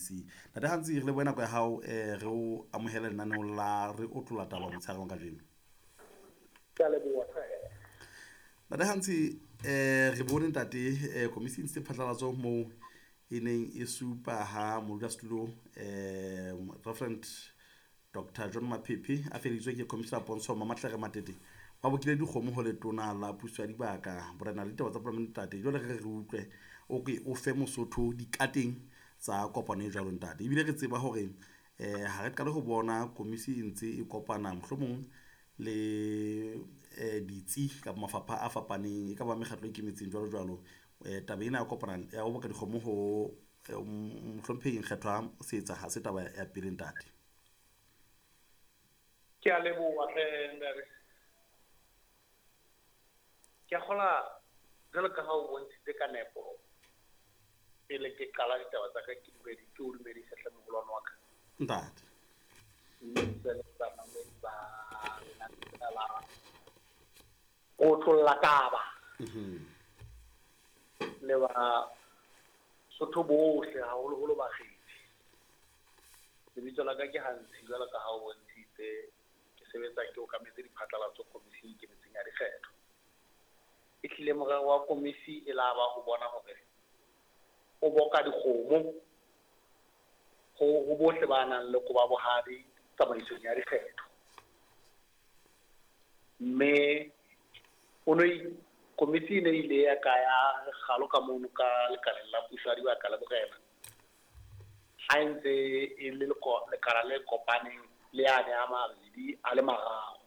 SABC. Ntate Hantsi, re lebohe nako ya hao, re o amohele lenaneong la Re Otlolla Taba motshehareng wa kajeno. Ke a leboha. Ntate Hantsi, re bone ntate, komisi e ntshitse phatlalatso moo e neng e supa ha modulasetulo Reverend Dr. John Maphephe a feleditswe ke Commissioner Pontsho Mamatlere Matete, ba bokile dikgomo ho letona la puso ya dibaka, borena le ditaba tsa palamente ntate. Jwale re re utlwe o ke o fe Mosotho dikateng tsa kopano e jwalo ntate. Ebile re tseba hore ha re qale ho bona komisi e ntse e kopana mohlomong le ditsi kapa mafapha a fapaneng, e ka ba mekgatlo e ikemetseng jwalo jwalo. Taba ena ya kopana ya ho boka dikgomo ho mohlomphehing Kgethwa Seetsa ha se taba ya pele ntate. Ke a leboha hle ntate. Ke a kgola jwalo ka ha o bontshitse ka nepo pele ke qala ditaba tsa ka, ke dumedi, ke o dumedise hle moholwane wa ka. Ntate. Dumedise le bamamedi ba lenaneo la Otlolla Taba. Le ba Sotho bohle, haholoholo bakgethi. Lebitso la ka ke Hantsi jwalo ka ha o bontshitse, ke sebetsa ke okametse diphatlalatso komising e ikemetseng ya dikgetho. E hlile morero wa komisi e la ba ho bona hore o boka dikgomo ho bohle ba nang le koba bohadi tsamaisong ya dikgetho. Mme o no komisi e ne ile ya ka ya kgalo ka mono ka lekaleng la puso ya dibaka le borena. Ha e ntse e le lekala le kopaneng le yane a mabedi a le mararo.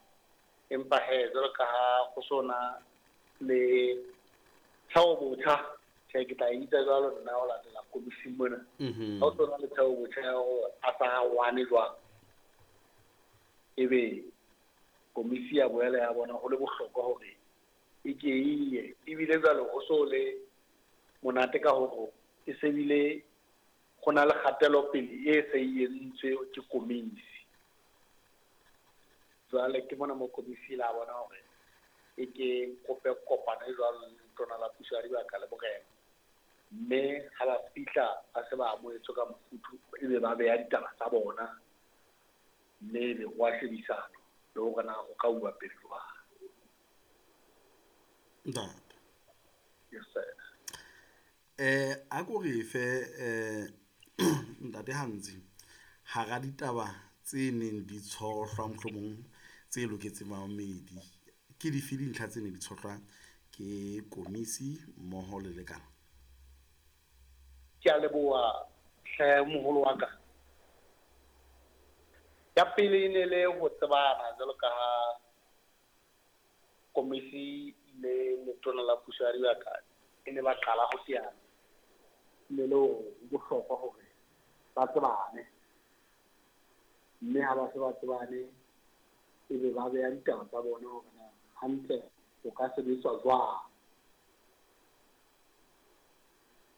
Empa he jwalo ka ha ho sona le theo botjha, tjhe, ke tla e bitsa jwalo nna ho latela komising mona. Ha ho sona le theo botjha ya hore a sa wane jwang, ebe komisi ya boela ya bona ho le bohlokwa hore e ke e ye. Ebile jwale ho so le monate ka hore e se bile ho na le kgatelopele e se e entswe ke komisi. Jwale ke mona mo komisi la bona hore e ke kope kopano e jwalo le letona la puso ya dibaka le borena. Mme ha ba fihla ba se ba amohetswe ka mofuthu, ebe ba beha ditaba tsa bona, mme ebe ho a shebisana le hore na ho ka uwa pele jwang. Ntate. Yes, sir. A ko re fe ntate Hantsi, hara ditaba tse neng di tshohlwa mohlomong tse loketseng bamamedi, ke dife dintlha tse neng di tshohlwa ke komisi mmoho le lekala? Ke a leboha hle moholo wa ka. Ya pele e ne le ho tsebana jwalo ka ha komisi le letona la puso ya dibaka e ne ba qala ho teana. Ne le hore ho bohlokwa hore ba tsebane, mme ha ba se ba tsebane ebe ba beha ditaba tsa bona hore na hantle ho ka sebetswa jwang.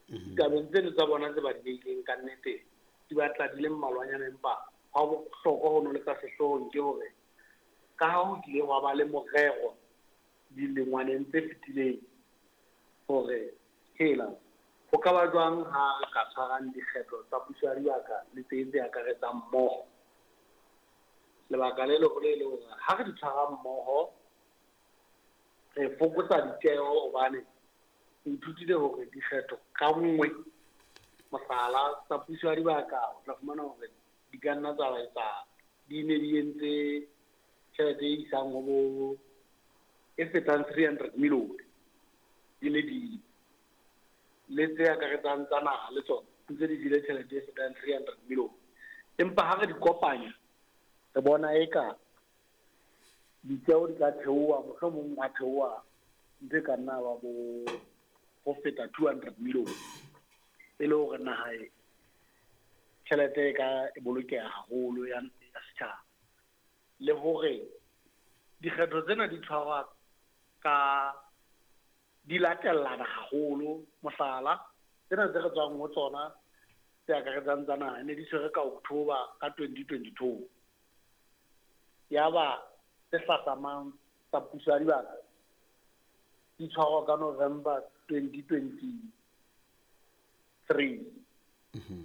Ditabeng tseno tsa bona tse ba di beileng ka nnete di batla di le mmalwanyana, empa ha bohlokwa ho no le ka sehloohong ke hore ka ha ho kile hwa ba le morero dilengwaneng tse fetileng hore hela ho ka ba jwang ha re ka tshwarang dikgetho tsa puso ya dibaka le tse tse akaretsang mmoho. Lebaka le leholo e le hore ha re di tshwara mmoho re fokotsa ditjeho, hobane re ithutile hore dikgetho ka nngwe, mohlala tsa puso ya dibaka, o tla fumana hore di ka nna tsa etsa di ne di entse tjhelete e isang ho bo e fetang 300 million di le di le tse akaretsang tsa naha le tsona ntse di jele tjhelete e fetang 300 million. Empa ha re di kopanya re bona eka ditjeho di ka theoha, mohlomong ha theoha ntho e ka nna ba bo ho feta 200 million, e le hore naha e tjhelete e ka e bolokeha haholo ya setjhaba. Le hore dikgetho tsena di tshwarwa ka di latellana haholo. Mohlala, tsena tse re tswang ho tsona tse akaretsang tsa naha ne di tshwere ka October ka 2022. Yaba tse hlahlamang tsa puso ya dibaka di tshwarwa ka November 2023.